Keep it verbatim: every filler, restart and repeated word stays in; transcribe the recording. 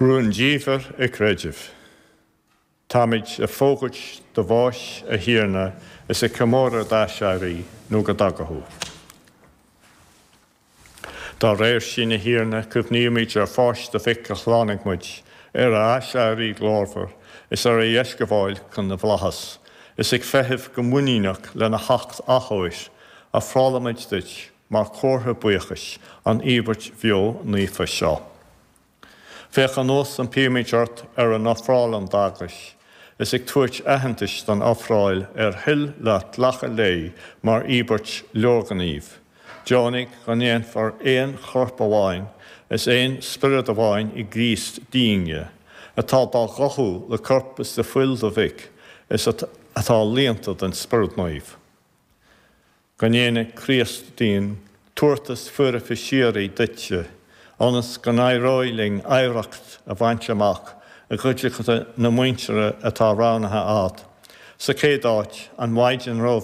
Rúndiamhair an chreidimh. Táimid ag fógairt do bháis a Thiarna is ag comóradh d'aiséirí nó go dtaga thú. Dá réir sin a Thiarna cuimhnímid ar pháis do mhic a shlánaigh muid, ar a aiséirí glórmhar, is ar a dheisghabháil chun na bhflaitheas, is ag feitheamh go muiníneach lena theacht athuair, ofrálaimid duit mar chomhartha buíochais an íobairt bheo naofa seo. Féach anuas impímid ort ar an ofráil d'eaglais, is ag tabhairt aitheantais don ofráil ar thoil leat glacadh léi mar íobairt leorghnímh. Deonaigh go ndéanfar aon chorp amháin is aon spiorad amháin i gCríost dínne, atá dá gcothú le corp is le fuil do mhic, is atá líonta den Spiorad Naomh. Go ndéana Críost dínn tabhartas foirfe síoraí duitse, ionas go n-éireoidh linn oidhreacht a bhaint amach i gcuideachta na muintire atá roghnaithe agat. Sa chéad áit an Mhaighdean ró